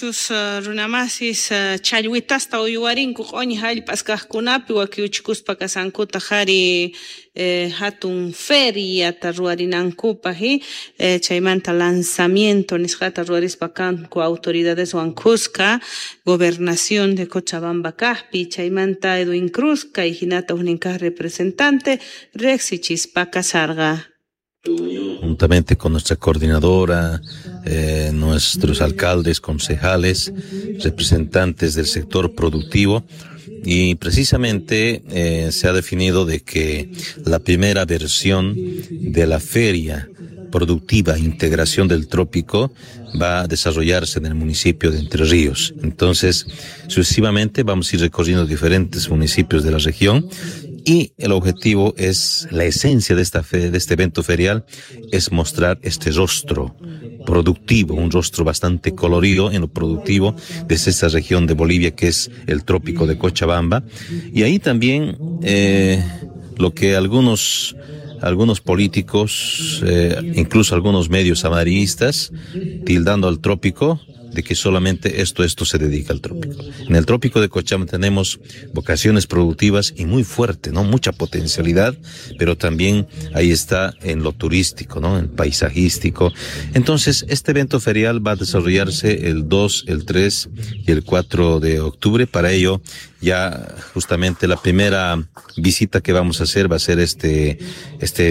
Imaynatachus runamasis challwitasta uywarinku q'uñi jallp'as kaqkunapi wakiuchikuspa kasankuta qhari hatun feriata ruwarinankupaq chaymanta lanzamiento nisqata ruwarispa kanku autoridadeswan khuska gobernación de Cochabamba kaqpi chaymanta Edwin Cruz kay hinata ujnin kaq representante riqsichispa kasarqa. Juntamente con nuestra coordinadora, nuestros alcaldes, concejales, representantes del sector productivo, y precisamente se ha definido de que la primera versión de la feria productiva Integración del Trópico va a desarrollarse en el municipio de Entre Ríos. Entonces, sucesivamente vamos a ir recorriendo diferentes municipios de la región y el objetivo es, la esencia de esta fe, de este evento ferial, es mostrar este rostro productivo, un rostro bastante colorido en lo productivo desde esta región de Bolivia que es el trópico de Cochabamba. Y ahí también lo que algunos políticos, incluso algunos medios amarillistas, tildando al trópico de que solamente esto se dedica al trópico. En el trópico de Cochabamba tenemos vocaciones productivas y muy fuerte, ¿no? Mucha potencialidad, pero también ahí está en lo turístico, ¿no? En paisajístico. Entonces, este evento ferial va a desarrollarse el 2, el 3 y el 4 de octubre. Para ello, ya justamente la primera visita que vamos a hacer va a ser este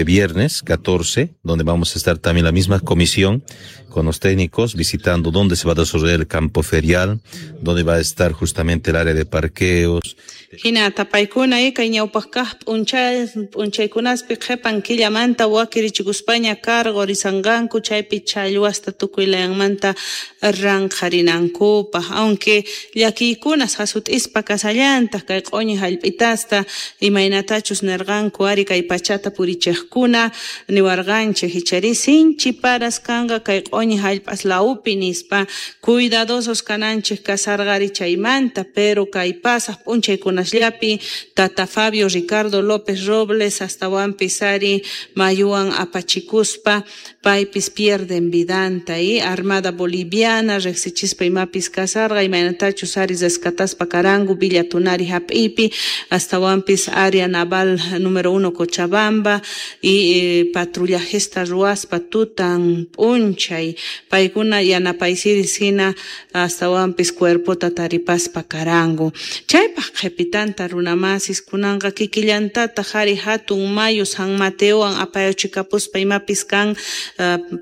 viernes 14, donde vamos a estar también la misma comisión con los técnicos visitando dónde se va a desarrollar el campo ferial, donde va a estar justamente el área de parqueos. Hina tapaykuna kay ñawpaq kaq p'unchaykunaspi qhipan killamanta wakirichikuspaña cargo risanqanku chaypi challwasta tukuy layanmanta ranqharinankupaq, aunque llakiykunas hasut'ispa kasallantaq kay q'uñi jallp'itasta imaynatachus nirqanku ari kay pachata purichiqkuna niwarqanchik ichari sinchi paras kanqa kay q'uñi jallp'as lawpi nispa cuidadosos kananchik kasarqari chaymanta, pero kay pasaq p'unchaykuna llapi Tata Fabio Ricardo López Robles astawanpis ari mayuwan apachikuspa paypis pierden vidanta y Armada Boliviana riqsichispa imapis kasarqa imaynatachus ari rescataspa karanku Villa Tunari hap'ipi astawanpis área naval número 1 Cochabamba y patrullajesta ruwaspa tutan p'unchay paykuna yanapaysiris hina astawanpis cuerpota taripaspa karanku chaypaq qhipita tanta runamasis kunanqa kikillantata qhari hatun mayu San Mateowan apayachikapuspa imapis kan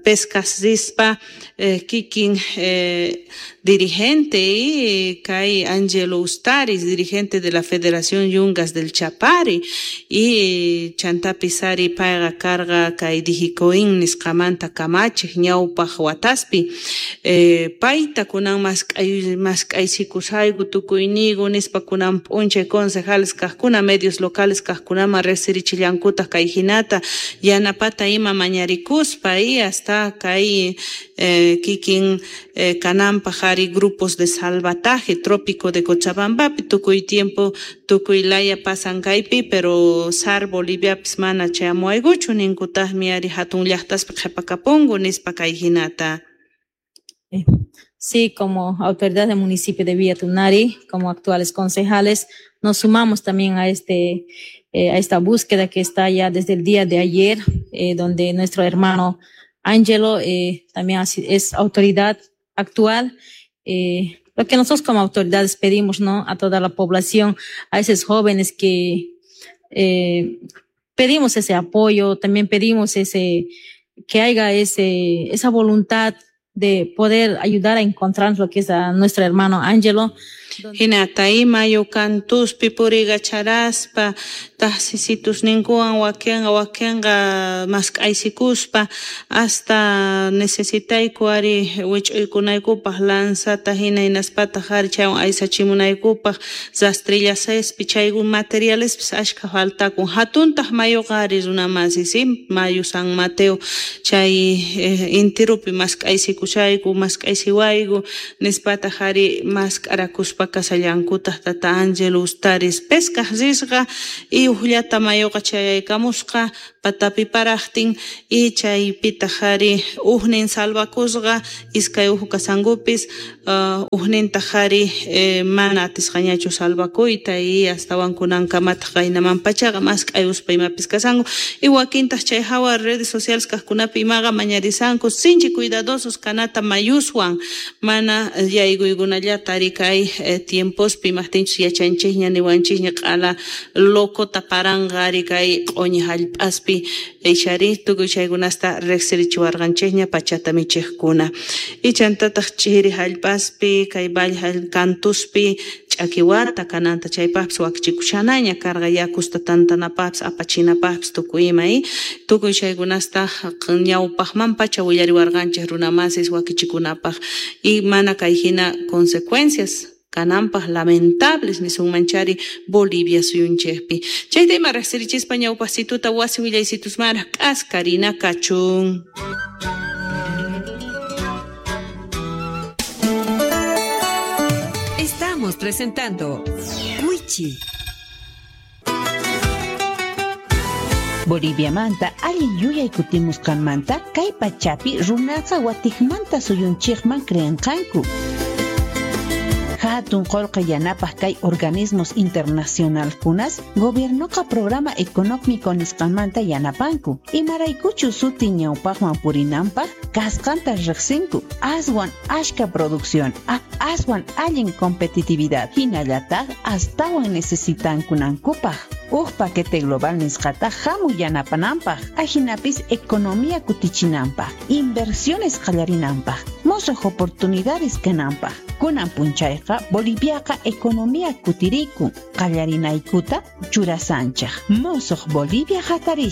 pescas rispa kikin dirigente y kay Angelo Ustaris, dirigente de la Federación Yungas del Chapari y chantapis ari payqa karqa kay Dijicoin nisqamanta kamachiq ñawpaq wataspi payta kunan mask'aysikusayku tukuyniyku nispa kunan p'unchay concejales kaqkuna medios locales kaqkunaman riqsirichillankutaq kay hinata yanapata ima mañarikuspa y hasta kay kikin kananpaq ari grupos de salvataje trópico de Cochabambapi tukuy tiempo tukuy laya pasan kaypi pero SAR Boliviapis mana chayamuwaykuchu ninkutaqmi ari hatun llaqtaspi qhipakapunku nispa kay hinata. Sí, como autoridad del municipio de Villa Tunari, como actuales concejales, nos sumamos también a esta búsqueda que está ya desde el día de ayer, donde nuestro hermano Ángelo también es autoridad actual. Lo que nosotros como autoridades pedimos, ¿no?, a toda la población, a esos jóvenes que pedimos ese apoyo, también pedimos que haya esa voluntad de poder ayudar a encontrar lo que es a nuestro hermano Ángelo. Hinata ima yukantuspi purigacharaspa tahsisitus ninkuwan wakenqa mask'aysikuspa hasta necesitayku ari wich'uykunaykupaq lanzata hina hinaspataq ari chaywan aysachimunaykupaq rastrillasespi chayku materialespis ashka faltakun hatuntaq mayuqa ari runamasi si mayu San Mateo chay intirupi mask'aysikushayku mask'aysiwayku nispataq ari mask'arakuspa kasallankutaq Tata Ángelo Ustaris pescaj risqa y ujllata mayuqa chayaykamusqa patapi parajtin y chaypitaq ari ujnin salvakusqa iskay uju kasankupis ujnintaq ari mana atisqañachu salvakuyta y astawan kunankamataq qaynamanpachaqa mask'ayuspa imapis kasanku y wakintaq chay hawa redes sociales kaqkunapi imaqa mañarisanku sinchi cuidadosos kanata mayuswan mana yaykuykunallata ari kay tiempospi imaqtinchus yachanchikña niwanchikña q'ala locota paranqa ari kay q'uñi hallp'aspi ixari tukuy chaykunasta riqsirichiwarqanchikña pachata michiqkuna y chantataq chiri hallp'aspi kay valle kantuspi ch'akiwata kananta chaypaqpis wakichikushanaña karqa yakusta tantanapaqpis apachinapaqpis tukuy ima tukuy chaykunasta ñawpaqmanpacha willariwarqanchik runamasis wakichikunapaq y mana kay hina consecuencias kananpaq lamentables nisunmanchari Bolivia suyunchikpi chayta ima riqsirichispa ñawpaqsituta wasi willaysitusmanraq k'askarina kachun. Estamos presentando Wichi. Boliviamanta allin yuyay kutimusqanmanta kay pachapi runaqa watiqmanta suyunchikman creenqanku. Hatun qolqe yanapaq kay organismos internacionalkunas gobiernoqa programa económico nisqanmanta yanapanku. Imaraykuchu suti ñawpaqman purinanpaq kasqanta riqsinku. Aswan ashka producción, aswan allin competitividad hinallataq astawan necesitankunankupaq. Uj paquete global nisqata hamuy yanapananpaq, ajinapis economía kutichinanpaq, inversiones qallarinanpaq, mosuq oportunidades kananpaq. Kunan punchayqa Boliviaqa economía kutirikun, qallarinaykuta churasanchik. Mosuq Bolivia hatarishan.